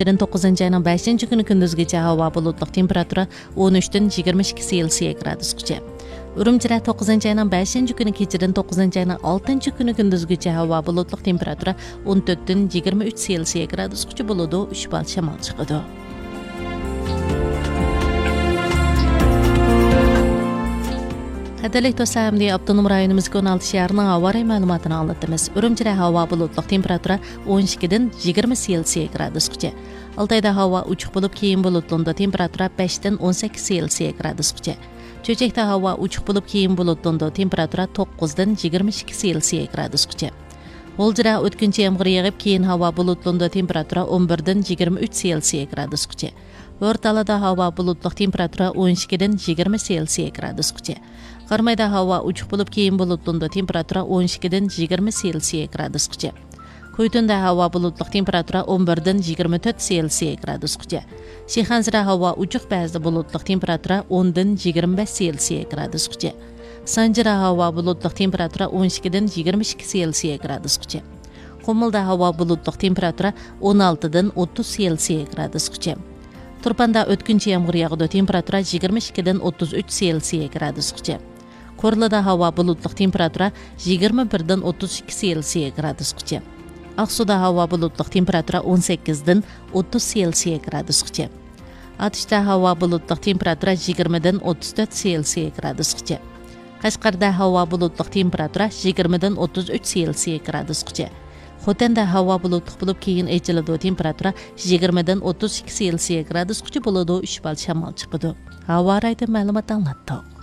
29 айнын 5-күнү күндүзгүчө аба булуттук, температура 13-22 Цельсий градускача. Үрүмчиде 9 айнын 5-күнү кечирен 9 айнын 6-күнү күндүзгүчө аба булуттук, температура 14-23 Цельсий градускача болуду. 3 балл шамал чыгыды. Кадерлик достор, эмди Автоном районумуздун 16 шаарынын аба ырайы маалыматын аңлатабыз. Үрүмчиде аба булуттук, температура 12-20 Цельсий градускача. Алтайда аба учук болуп, кийин булуттуу, температура 5-18 Цельсий градускача. Чөчөктө аба учук болуп, кийин булуттуу, температура 9-22 Цельсий градускача. Олжира өткүнчү ямгыр ягып, кийин аба булуттуу, температура 11-23 Цельсий градускача. Орталада аба булуттук, температура 12-20 Цельсий градускача. Кармайда аба учук болуп, кийин булуттуу, температура 12-20 Цельсий градускача. Көйтөндө аба булуттук, температура 11-24 Цельсий градускача. Шиханзыда аба учук, баазда булуттук, температура 10-25 Цельсий градускача. Санжыра аба булуттук, температура 12-22 Цельсий градускача. Комулда аба булуттук, температура 16-30 Цельсий градускача. Турпанда өткүнчү ямгыр ягды, температура 22-33 Цельсий градускача. Корлуда аба булуттук, температура 21-32 Цельсий градускача. Аксуда аба булуттук, температура 18-30 Цельсий градускача. Атышта аба булуттук, температура 20-34 Цельсий градускача. Кашкарда аба булуттук, температура 20-33 Цельсий градускача. Хотенде аба булуттук болуп, кийин эчилди, температура 20-32 Цельсий градускача болуду. 3 балл шамал чыгыды. Аба ырайы маалымат аңлаттык.